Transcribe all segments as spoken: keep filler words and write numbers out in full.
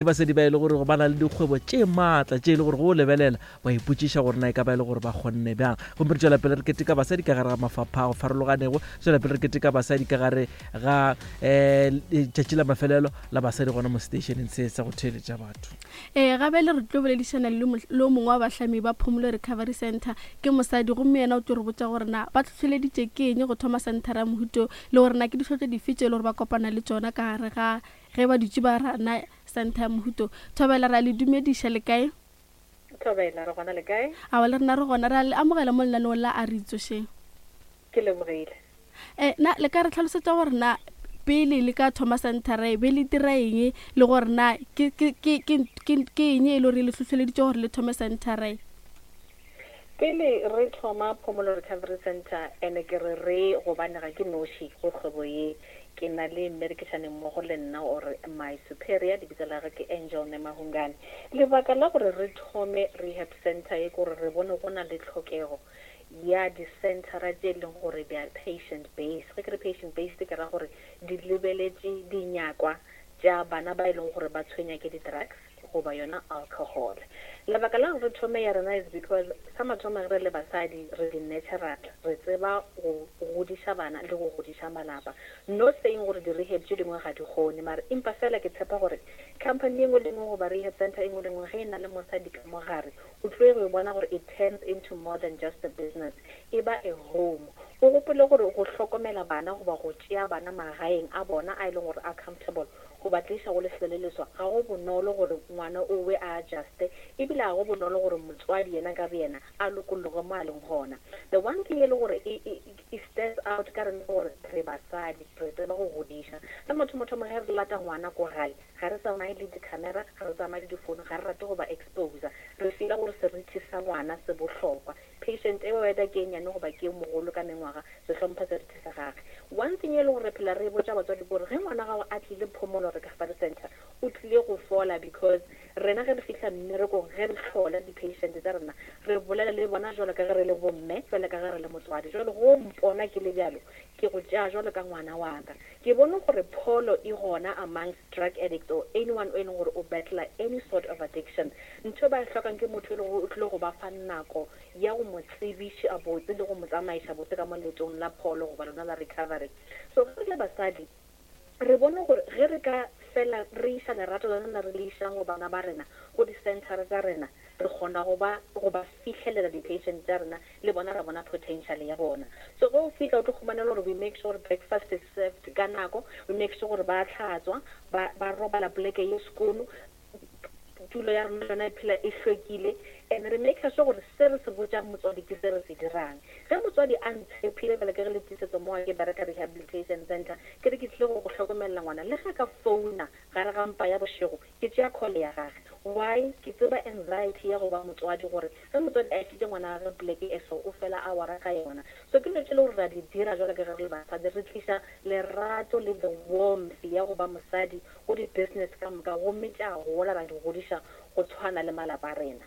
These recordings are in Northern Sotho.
Basadi ba e le gore ba na le dikgwebo tše maatla tše e le gore go lebelela ba ipotšiša gore na e ka ba e le gore ba kgonne bjang. Gomme re tšwela pele re keteka basadi ka gare ga mafapha a go farologanego, tswela pele re keteka basadi ka gare ga um letšatši la mafelelo la basadi gona mo stationeng se sa go theeletša batho. Ee, gabele re tlo boledišana le le o mongwe wa bahlami ba Phomolo Recovery Center, ke mosadi, gomme yena o tlo re botša gore na ba tlhohleleditše ke eng go thoma centera ya mohuto, le gore na ke ditlhotlo dife tše e le gore ba kopana le tšona ka gare ga ge ba dutše ba rana center ya mohuto. Thobela, ra le dumediša, le kae? Thobela, re gona, le kae? Awa, le rena re gona. Re a le amogela mo lenaneong la A Re Itsošeng. Ke lebogile. um na le ka re tlhalosetša gore na pele le ka thoma centera e be le dira eng, le gore na ke ke ke ke ke ke eng e le gore le hlohleleditše gore le thome centera e? Pele re thoma Phomolo Recovery Center, ene ke re re gobane ga ke noši go kgwebo ye, ke na le mmerekišane mmogo le nna or my superior, lebitso la gage ke Angel Nemahungane. Lebaka la gore re thome rehab center ye ke gore re bone go na le tlhokego ya di-centera tše e leng gore they are patient based. Ge ke re patient based, ke ra gore di lebeletše dinyakwa tša bana ba e leng gore ba tshwenya ke di-drugs goba yona alcohol. Lebaka la gore re thome ya rena is because sa mathomo, ge re le basadi re di-natural, re tseba go godiša bana le go godiša malapa. Not saying gore di-rehab tše dingwe ga di kgone, mare empa fela ke tshepa gore company e nngwe le nngwe goba rehab center e nngwe le nngwe, ge e na le mosadi ka mogare, o tlo go e bona gore it turns into more than just a business, e ba a home. O gopole gore go hlokomela bana goba go tšea bana magaeng a bona a e leng gore a comfortable go ba tliša go lefelo le leswa, ga go bonolo gore ngwana o we a adjuste, ebile ga go bonolo gore motswadi yena ka boyena a lokologe mo a leng gona. The one thing e le gore e, e, e stands out ka rena gore re basadi re tseba go godiša. Sa motho-mothomo, ge re lata ngwana ko gae, ga re tsamaye le di-camera, ga re tsamaye le difounu, ga re rate go ba exposa. Re feela gore seriti sa ngwana se bohlokwa. Patient e weda ke e nyane goba ke e mogolo ka mengwaga, re hlompha seriti sa gage. One thing e le gore re phela re botša batswadi ke gore ge ngwana gago a tlile Phomolo Recovery Center, o tlile go fola, because rena ge re fihla mmerekong, ge re hlola di-patient tsa rena, re bolela le bona jwalo ka ge re le bomme, jwalo ka ge re le motswadi. Jwale go mpona ke le bjalo, ke go tšea jwalo ka ngwana wa ka. Ke bone gore pholo e gona amongst drug addicts or anyone o e leng gore o battler any sort of addiction. Ntho e ba e hlokang ke motho e leng gore o tlile go ba fa nako ya go mo tsebiša botse le go mo tsamaiša botse ka mo leetong la pholo goba lona la recovery. So ge re le basadi re bone gore ge re ka fela re iša lerato la rena re le išang go bana ba rena go di-centera tša rena, re kgona go ba go ba fihlelela di-patient tša rena, le bona ra bona potential ya bona. So ge o fihla o tlo khumanela gore we make sure gore breakfast is served ka nako, we make sure gore ba tlhatswa, ba ba robala poleke ye sekolo, tulo ya rena yona e phela e hlwekile, and re make sure gore se re se botjang motswadi ke se re se dirang. Ge motswadi a ntshepile bjale ke ge le tiisetso mo ke bereka rehabilitation center, ke re ke tlile go go hlokomelela ngwana, le ge ka founa gare ga mpa ya bošego, ke tšea call ya gage. Why? Ke tseba anxiety ya go ba motswadi, gore ge motswadi a išitše ngwana gage poleke e so, o fela a wara ka yona. So ke dilo tše le gore ra di dira jwalo ka ge re le basadi, re tliša lerato le the warmth ya go ba mosadi go di-business ka moka, gomme tša gola ra di godiša go tshwana le malapa a rena.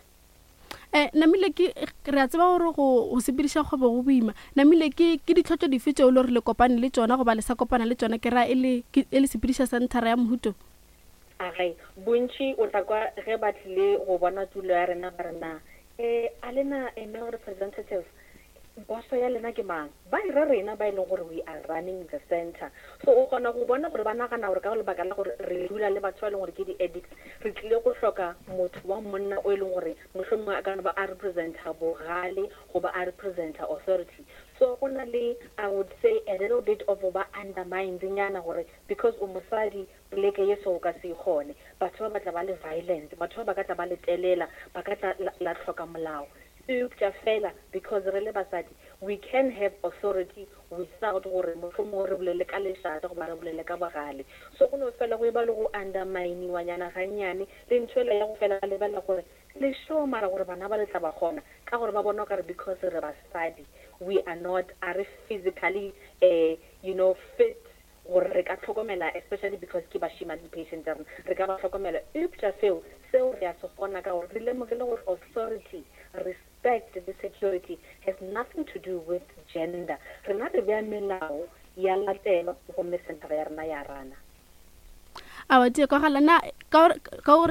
um namile ke re a tseba gore go go sepediša kgwebo go boima. Namile ke ke ditlhotlo dife tšeo le gore le kopane le tšona goba le sa kopana le tšona, ke ra e le ke- e le sepediša centera ya mohuto? Age, bontši o tla kwa ge ba tlile go bona tulo ya rena ba re, na um a lena a male representative, boso ya lena ke mang? Ba ira rena ba e leng gore we are running the center. So o kgona go bona gore ba nagana gore ka lebaka la gore re dula le batho ba e leng gore ke di-addicts, re tlile go hloka motho wa monna o e leng gore mohlomongwe a ka no ba a representa bogale goba a representa authority. So go na le, I would say, a little bit of go ba undermined nyana gore because o mosadi, poleke ye so o ka se e kgone, batho ba ba tla ba le violent, batho ba ba ka tla ba le telela, ba ka tla la, la hloka molao. Eupša fela because re le basadi, we can have authority without gore mohlomongwe re bolele ka lešata goba re bolele ka bogale. So go no fela go e ba le go underminiwa nyana gannyane, le ntho ela ya go fela ba lebelela gore le sure mara gore bana ba le tla ba kgona, ka gore ba bona o kare because re basadi, we are not, a re physically uh, you know fit gore re ka tlhokomela, especially because ke bashimane di-patient tša rena, re ka ba tlhokomela. Eupša seo seo re a se kgona ka gore re lemogile gore authority, respect le security has nothing to do with gender. Rena re bea melao ya latelwa, gomme centera ya rena ya rana. A wa tie kwagala na ka gore- ka gore